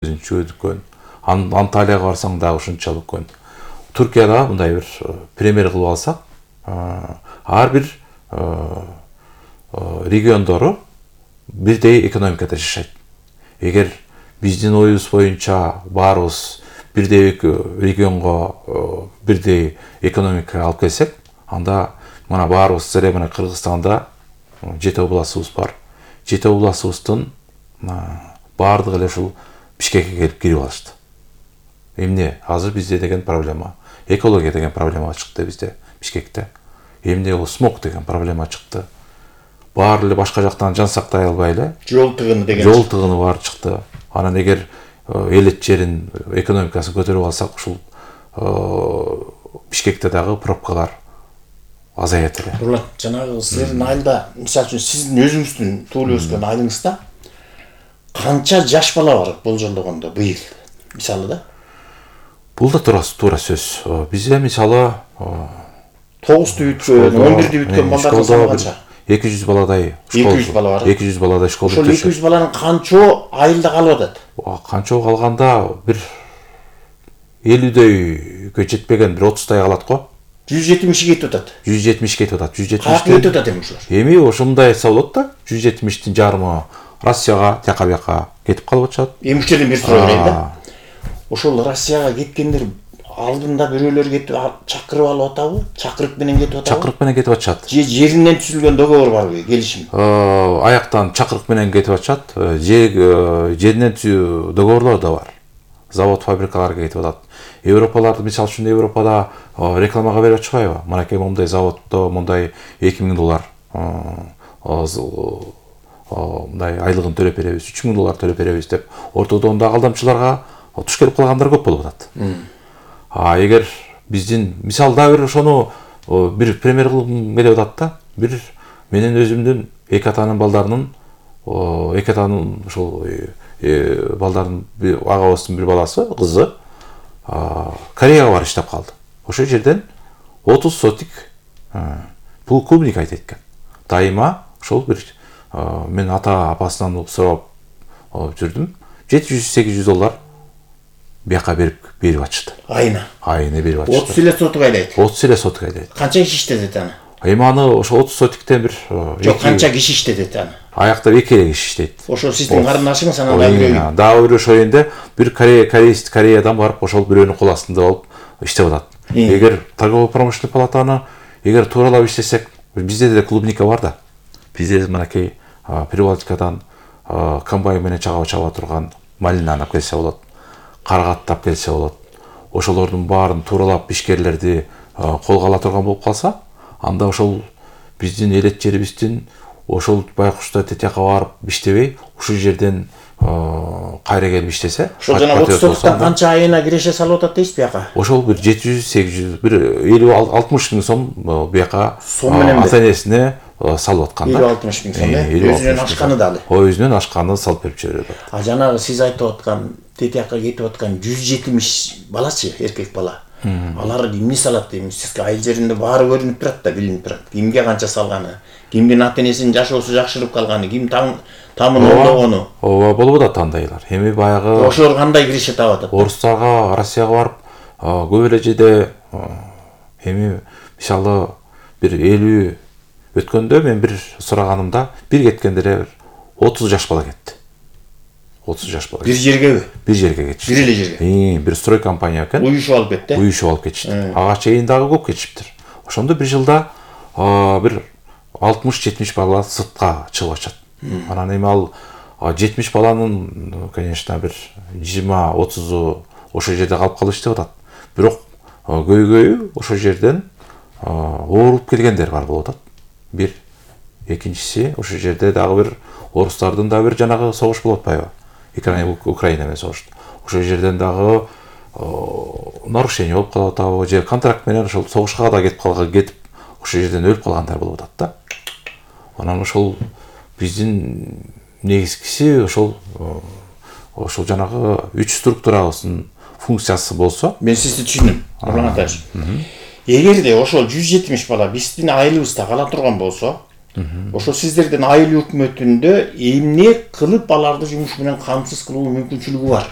үлкөн. Анталияга барсаң дагы ушунчалык үлкөн. Түркияда мындай бир премьер кылып алсак, ар бир региондору бирдей экономикада жашайт. Эгер биздин оюбуз боюнча баарыбыз бирдей регионго бирдей экономика алып келсек, анда мына баарыбыз сире мына Кыргызстанда 7 областыбыз бар. 7 областыбыздын баардыгы эле ушул Бишкекке келип кирип алышты. Эмне азыр бизде деген проблема, экология деген проблема чыкты бизде Бишкекте. Эмне ол смог деген проблема чыкты. Баары эле башка жактан жан сактай албай эле жол тыгыны деген жол тыгыны бар чыкты. Анан эгер элет жерин экономикасын көтөрүп алсак, ушул Бишкекте дагы пробкалар азаят эле. Булат, жанагы силердин айылда, мисалы үчүн сиздин өзүңүздүн туулуп өскөн айылыңызда канча жаш бала бар болжолдогондо быйыл? Мисалы да? Бул да туура сөз. Бизде мисалы 9-ты бүткөн, 11-ди бүткөн балдардын саны канча? 200 баладай школ. 200 бала бар. 200 баладай школ. Ошол 200 баланын канчоо айылда калып атат? Канчоо калганда бир 50дөйгө жетпеген бир 30тай калат го. 170 кетип атат. 170 кетип атат. 170. Каяка кетип атат эми ушулар? Эми ошондой айтса болот да. 170тин жарымы Россияга, тияка бияка кетип калып атышат. Эми уштерден бир суроо берейин да. Ошол Россияга кеткендер алдында бирөөлөр кетип чакырып алып атабы? Чакырык менен кетип атабы? Чакырык менен кетип атышат. Жеринен түзүлгөн договор барбы, келишим? Аяктан чакырык менен кетип атышат. Жеринен договорлор да бар. Завод, фабрикаларга кетип атат. Европаларды, мисалы үчүн Европада рекламага берип атышпайбы? Мынакей мондай заводдо мондай $2000 мындай айлыгын төлөп беребиз, $3000 төлөп беребиз деп ортодон да алдамчыларга туш келип калгандар көп болуп атат. Эгер биздин мисалда бир ошону бир премьер кылгым келип атат да, бир менин өзүмдүн эки атанын балдарынын эки атанын ошол балдардын агабыздын бир баласы, кызы Кореяга барып иштеп калды. Ошол жерден 30 сотик бул клубник айтат экен. Дайыма ошол бир мен ата-апасынан сурап жүрдүм. $700-800 бияка берип атышты. Айына берип атышты. 30 эле сотук айлайт. 30 эле сотук айлайт. Канча киши иштетет аны? Эми аны ошо 30 сотиктен бир жок, канча киши иштетет аны? Аякта 2 эле киши иштейт. Ошол сиздин карындашыңыз анан дагы бирөө. Дагы бирөө ошол жерде бир Кореядан барып ошол бирөөнүн кол астында болуп иштеп атат. Эгер торгово-промышленный палатаны эгер тууралап иштесек, бизде деле клубника бар да. Бизде мынакей Прибалтикадан комбайн менен чаба турган малинаны алып келсе болот, каргатты алып келсе болот. Ошолордун баарын тууралап ишкерлерди колго ала турган болуп калса, анда ошол биздин элет жерибиздин ошол байкуштар тетияка барып иштебей, ушул жерден кайра келип иштесе, ошол жана 30 сотуктан канча айына киреше салып атат дейсиз бияка? Ошол бир 700-800 бир 50-60 миң сом бияка ата-энесине салып аткан да. 50-60 миң сом, өзүнөн ашканы дагы. Өзүнөн ашканы салып берип жиберет. Жанагы сиз айтып аткан тетияка кетип аткан 170 балачы, эркек бала. Алар эмне салат дейм, сизге айыл жеринде баары көрүнүп турат да, билинип турат. Кимге канча салганы, кимдин ата-энесинин жашоосу жакшырып калганы, ким тамын олдогону. Ооба болуп атат андайлар. Эми баягы ошолор кандай киреше таап атат? Орустарга, Россияга барып көп эле жерде эми мисалы бир 50 өткөндө мен бир сураганымда бир кеткенде эле 30 жаш бала кетти. 30 жаш бала. Бир жергеби? Бир жерге кетишти. Бир эле жерге. Бир строй компания экен. Уюшуп алып кетти. Уюшуп алып кетишти. Ага чейин дагы көп кетишиптир. Ошондо бир жылда бир 60-70 бала сыртка чыгып атышат. Анан эми ал 70 баланын, конечно, бир 20-30 ошол жерде калып калыш деп атат. Бирок көйгөйү ошол жерден ооруп келгендер бар болуп атат. Бир экинчиси ошол жерде дагы бир орустардын да бир жанагы согуш болуп атпайбы? Украина менен согуш. Ошол жерден дагы нарушение болуп калып атабы, же контракт менен ошол согушка да кетип ошол жерден өлүп калгандар болуп атат да. Анан ошол биздин негизгиси ошол жанагы 3 структурабыздын функциясы болсо, мен сизди түшүндүм. Нурлан атач. Эгерде ошол 170 бала биздин айылыбызда кала турган болсо, Ошо сиздердин айыл өкмөтүндө эмне кылып аларды жумуш менен камсыз кылуу мүмкүнчүлүгү бар?